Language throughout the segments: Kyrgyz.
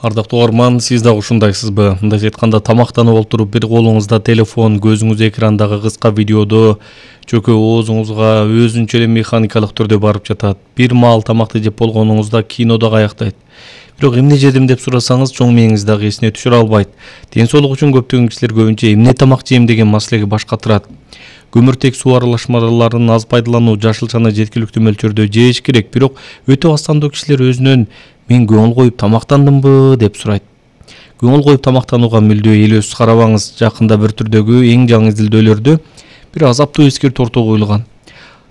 Ардактуу угарман, сиз дагы ушундайсызбы? Мындайча айтканда, тамактанып олтуруп, бир колуңузда телефон, көзүңүз экрандагы кыска видеодо, чөкө оозуңузга өзүнчө эле механикалык түрдө барып жатат. Бир маал тамакты жеп болгонуңузда кино дагы аяктайт. Бирок эмне жедим деп сурасаңыз, чоң мээңиз дагы эсине түшүрө албайт. Ден соолук үчүн көптөгөн кишилер көбүнчө эмне тамак жейм деген маселеге баш катырат. Көмүртек суу аралашмаларын аз пайдалануу, жашылчаны жеткиликтүү мөлчөрдө жеш керек, бирок өтө аз сандуу кишилер өзүнөн мен көңүл коюп тамактандымбы деп сурайт. Көңүл коюп тамактанууга мүлдө элөөсүз карабаңыз. Жакында бір түрдөгү эң жаңы изилдөөлөрдө бир азаптуу эскертүү ортого коюлган.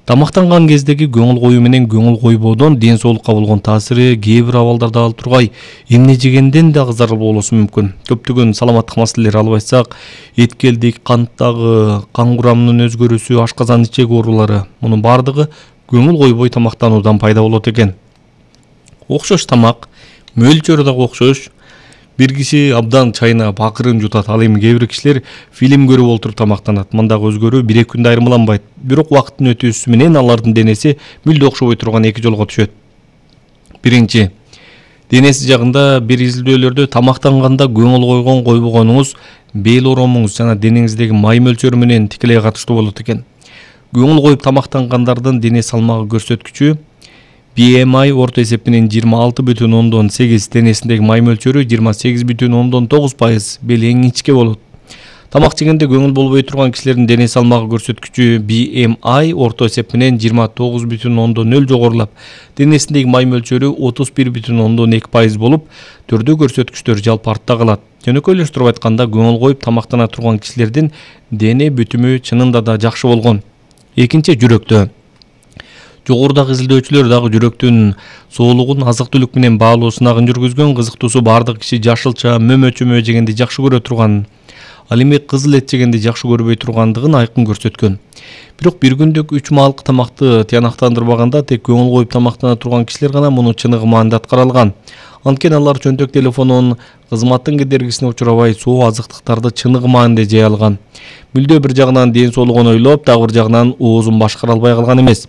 Тамактанган кездеги көңүл коюу менен көңүл койбоодон ден соолукка болгон таасири кээ бир абалдарда ал тургай эмне жегенден дагы зарыл болушу мүмкүн. Көптөгөн саламаттык маселелери алып айтсак, эткелдик, канттагы, кан курамынын өзгөрүүсү, ашказан ичек оорулары, мунун бардыгы көңүл койбой тамактануудан пайда болот экен. Окшош тамак, мөлчөрү дагы окшош. Бир киши абдан чайнап, акырын жутат, ал эми кээ бир кишилер фильм көрүп олтуруп тамактанат. Мындагы өзгөрүү 1-2 күндө айырмаланбайт. Бирок убакыттын өтүүсү менен алардын денеси мүлдө окшобой турган эки жолго түшөт. Биринчи, денеси жагында бир изилдөөлөрдө тамактанганда көңүл койгон койбогонуңуз бел оромуңуз жана денеңиздеги май мөлчөрү менен тикелей катыштуу болот экен. Көңүл коюп тамактангандардын дене салмагы көрсөткүчү BMI орто эсеп менен 26,8, денесиндеги май мөлчөрү 28,9%, бел эң ичке болот. Тамак жегенде көңүл болбой турган кишилердин дене салмагы көрсөткүчү BMI орто эсеп менен 29,0 жогорулап, денесиндеги май мөлчөрү 31,2% болуп, түрдүү көрсөткүчтөр жалпы артта калат. Жөнөкөйлөштүрүп айтканда, көңүл коюп тамактана турган кишилердин дене бүтүмү чынында да жакшы болгон. Экинчи, жүрөктө. Жогорудагы изилдөөчүлөр дагы жүрөктүн соолугун азык-түлүк менен баалуу сынагын жүргүзгөн. Кызыктуусу, бардык киши жашылча, мөмө-чөмө жегенди жакшы көрө турган, ал эми кызыл эт жегенди жакшы көрбөй тургандыгын айкын көрсөткөн. Бирок бир күндүк 3 маалык тамакты тыянактандырбаганда тек көңүл коюп тамактана турган кишилер гана муну чыныгы маанында аткара алган. Анткени алар чөнтөк телефонун кызматтын кедергисине учурабай, соо азыктыктарды чыныгы маанында жей алган. Мүлдө бир жагынан ден соолугун ойлоп, дагы бир жагынан оозун башкара албай калган эмес.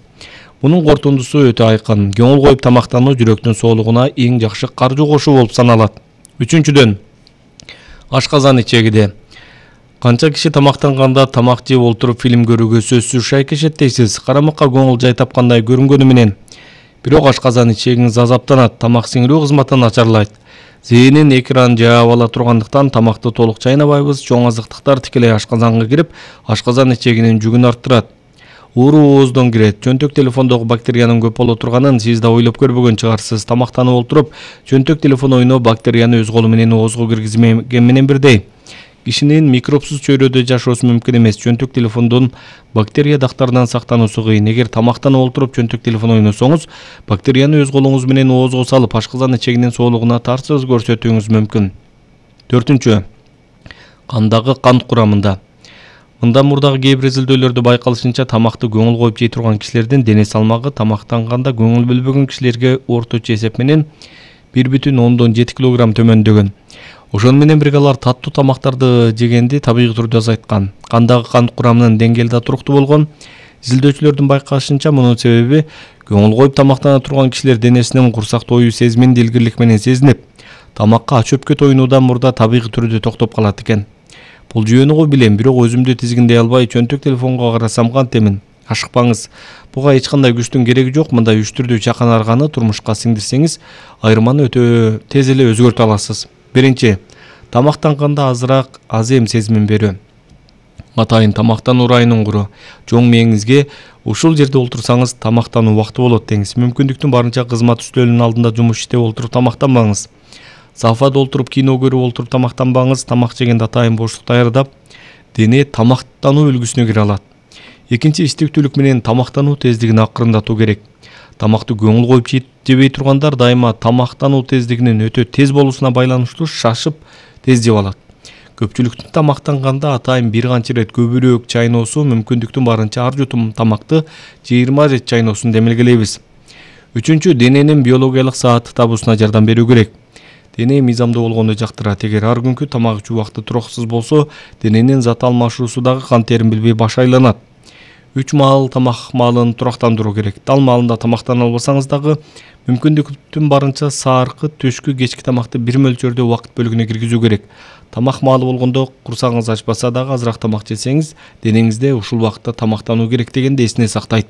Мунун корутундусу өтө айкын. Көңүл коюп тамактануу жүрөктүн соолугуна эң жакшы каржы кошуу болуп саналат. Үчүнчүдөн, ашказан ичегиде. Канча киши тамактанганда тамак жеп олтуруп фильм көрүүгө сөзсүз шайкешет дейсиз. Карамакка көңүл жай тапкандай көрүнгөнү менен. Бирок ашказан ичегиңиз азаптанат, тамак сиңирүү кызматы начарлайт. Зээнин экран жаап ала тургандыктан тамакты толук чайнабайбыз. Чоң азыктыктар тикелей ашказанга кирип, ашказан ичегинин жүгүн арттырат. Ууруу ооздон кирет. Чөнтөк телефондогу бактериянын көп боло турганын сиз да ойлоп көрбөгөн чыгарсыз. Тамактанып олтуруп, чөнтөк телефон ойноп бактерияны өз колу менен оозго киргизмеген менен бирдей. Кишинин микробсуз чөйрөдө жашоосу мүмкүн эмес. Чөнтөк телефондон бактерия дактарынан сактануусу кыйын. Эгер тамактанып олтуруп чөнтөк телефон ойносоңуз, бактерияны өз колуңуз менен оозго салып, ашказан ичегинин соолугуна тарсыз көрсөтүүңүз мүмкүн. 4. Кандагы кант курамында. Мындан мурдагы кээ бир изилдөөлөрдө байкалышынча, тамакты көңүл коюп жей турган кишилердин дене салмагы тамактанганда көңүл бөлбөгөн кишилерге орточо эсеп менен 1,7 кг төмөндөгөн. Ошону менен бирге алар таттуу тамактарды жегенди табигый түрдө азайткан. Кандагы кант курамынын деңгээли да туруктуу болгон. Изилдөөчүлөрдүн байкашынча, мунун себеби көңүл коюп тамактана турган кишилер денесинин курсак тоюу сезимин дилгирлик менен сезинип, тамакка ачөпкө тоюнуудан мурда табигый түрдө токтоп калат экен. Бул жүйөнү го билем, бирок өзүмдү тизгиндей албай чөнтөк телефонго карасам кантемин. Ашыкпаңыз. Буга эч кандай күчтүн кереги жок. Мындай үчтүрдүү чакан арганы турмушка сиңдирсеңиз, айырманы өтө тез эле өзгөртө аласыз. Биринчи, тамактанганда азыраак азем сезимин берүү. Атайын тамактануу ырайынын куру. Чоң мээңизге ушул жерде олтурсаңыз тамактануу убакты болот деңиз. Мүмкүндүктүн барынча кызмат үстөлүнүн алдында жумуш иштеп олтуруп тамактанбаңыз. Софада олтуруп кино көрүп олтуруп тамактанбаңыз. Тамак жегенде атайын боштук даярдап, дене тамактануу үлгүсүнө кире алат. Экинчи, иштиктүүлүк менен тамактануу тездигин акырындатуу керек. Тамакты көңүл коюп жебей тургандар дайыма тамактануу тездигинин өтө тез болуусуна байланыштуу шашып тез жеп алат. Көпчүлүктүн тамактанганда атайын бир канча ирет көбүрөөк чайноосу, мүмкүндүктүн барынча ар жутум тамакты 20 ирет чайноосун демилгелейбиз. Үчүнчү, дененин биологиялык саатты табуусуна жардам берүү керек. Дене мыйзамдуу болгонду жактырат. Эгер ар күнкү тамак жуу убакты тураксыз болсо, дененин зат алмашуусу дагы кан терин билбей баш айланат. 3 маал тамак маалын турактандыруу керек. Дал маалында тамактана албасаңыз дагы мүмкүндүктүн барынча сааркы, түшкү, кечки тамакты бир мөлчөрдө убакыт бөлүгүнө киргизүү керек. Тамак маалы болгондо курсагыңыз ачпаса дагы азыраак тамак жесеңиз, денеңизде ушул убакытта тамактануу керек дегенди эсине сактайт.